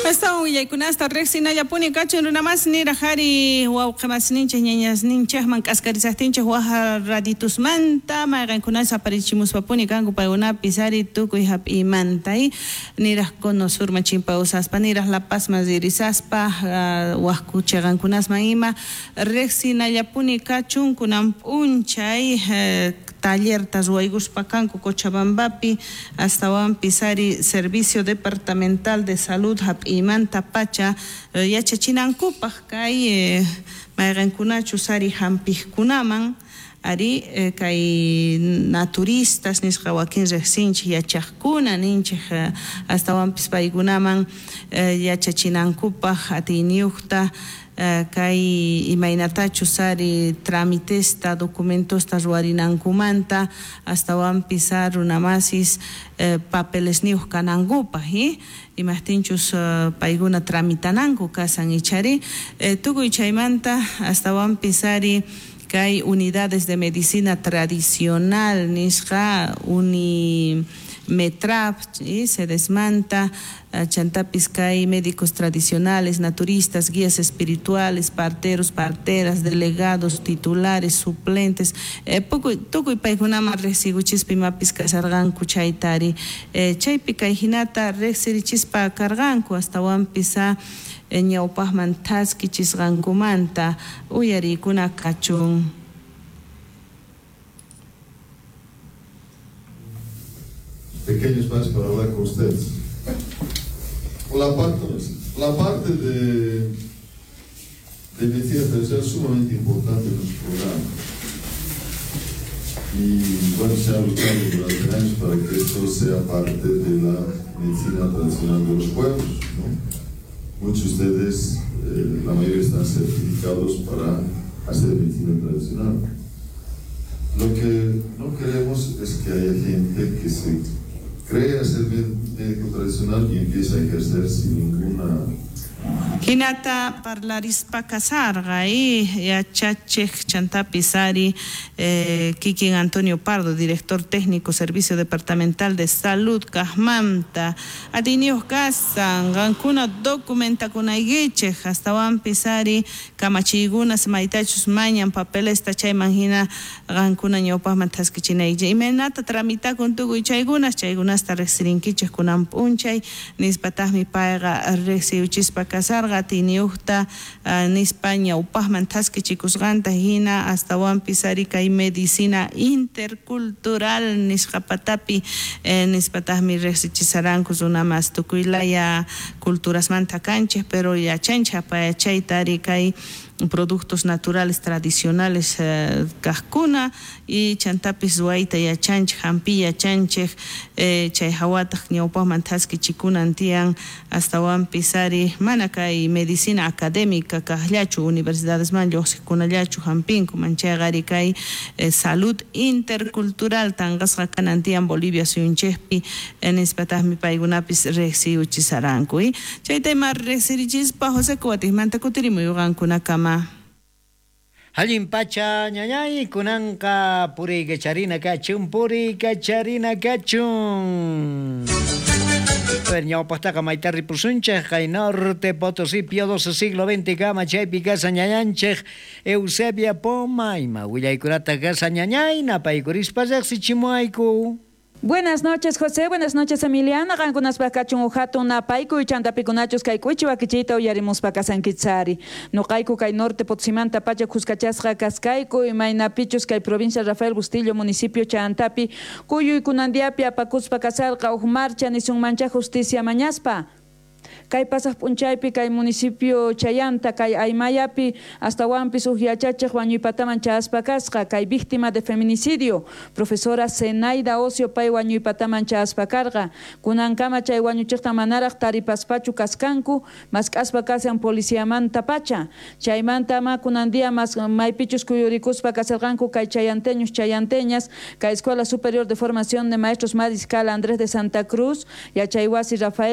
Astawan willaykunasta riqsinallapuni kachun runamas niraj ari wawqimasninchik ñañasninchikman k'askarisaqtinchik waj raditusmanta mayqankunas aparichimuspapuni kanku paykunapis ari tukuy hap'iymanta niraj Cono Surman chimpawsaspa niraj La Pazman ririsaspa waj chiqankunasman ima riqsinallapuni kachun kunan p'unchay tallerta ruwaykuspa kanku Cochabambapi astawanpis ari Servicio Departamental de Salud hap'iymanta pacha yachachinankupaq kay mayqankunachus ari hampijkunaman ari kay naturistas nisqa wakin riqsinchik yachaqkuna ninchik astawanpis paykunaman yachachinankupaq atiyniyuqta kay imaynatachus ari tramitesta documentosta ruwarinankumanta astawanpis runamasis papelesniyuq kanankupaq imajtinchus paykuna tramitananku kasan ichari tukuy chaymanta astawanpis ari kay unidades de medicina tradicional nisqa Unimetrap sedesmanta chantapis kay médicos tradicionales, naturistas, guías espirituales, parteros, parteras, delegados, titulares, suplentes, tukuy paykunaman riqsikuchispa imapis kasarqanku chayta ari chaypi kay hinata riqsirichispa karqanku astawanpis ñawpaqman thaskichisqankumanta uyariykuna kachun. Pequeño espacio para hablar con ustedes. La parte de medicina tradicional es sumamente importante en nuestro programa. Y bueno, se ha luchado durante años para que esto sea parte de la medicina tradicional de los pueblos, ¿no? Muchos de ustedes, la mayoría están certificados para hacer medicina tradicional. Lo que no queremos es que haya gente que se crea ser médico tradicional y empieza a ejercer sin ninguna. Hinata parlarispa kasarqa yachachej chantapis ari kikin Antonio Pardo, director técnico Servicio Departamental de Salud kajmanta atiyniyuq kasan qankuna documentakunaykichej astawanpis ari kamachiykunas maytachus mañan papelesta chayman hina qankuna ñawpaqman thaskichinaykichej imaynata tramitakun tukuy chaykunas chaykunasta riqsirinkichej kunan p'unchay nispataqmi payqa riqsiyuchispa kasarqa atiyniyuqta nispa ñawpaqman thaskichikusqanta hina astawanpis ari kay medicina intercultural nisqa patapi nispataqmi riqsichisaranku runamas tukuy laya culturasmanta kanchej pero yachanchej apayachayta ari kay productos naturales tradicionales kajkuna y chantapis ruwayta yachanchej hampi yachanchej chay hawataq ñawpaqman thaskichikunan tiyan astawanpis ari mana kay medicina académica kajllachu universidadesman lluqsiqkunallachu hampinku manchayqa ari kay salud intercultural tanqasqa kanan tiyan Bolivia suyunchikpi nispataqmi paykunapis riqsiyuchisaranku chayta ima riqsirichispa José Kuwatikmanta kutirimuy qankunakama. Allin pacha ñañay kunanqa puriykacharina kachun puriykacharina kachun. Ñawpaqtaqa mayta ripusunchej kay Norte Potosí Pío XII siglo XX kama chaypi kasa ñañanchej Eusebia Poma ima willaykunata kasa ñañay napaykurispa riqsichimuayku. Buenas noches, José. Buenas noches, Emiliano. Qankunaspaq kachun uj hatun napaykuy chantapikunachus kay k'uchi wakichiyta uyarimuspa kasankichari. Nuqayku kay Norte Potosimanta pacha khuskachasqa kaskayku imaynapichus kay provincia Rafael Bustillo municipio chantapi kuyuykunandiapi apakuspa kasarqa uj marcha nisunmancha justicia mañaspa. Kay pasaq p'unchaypi kay municipio Chayanta kay Aymayapi astawanpis uj yachachej wañuypataman chayaspa kasqa kay víctima de feminicidio profesora Zenaida Ocio pay wañuypataman chayaspa karqa kunankama chay wañuchiqta manaraq taripaspachu kaskanku mask'aspa kasan policiamanta pacha chaymanta ma kunan día mas maypichus kuyurikuspa kasarqanku kay chayanteños chayanteñas kay Escuela Superior de Formación de Maestros Mariscal Andrés de Santa Cruz yachaywasi Rafael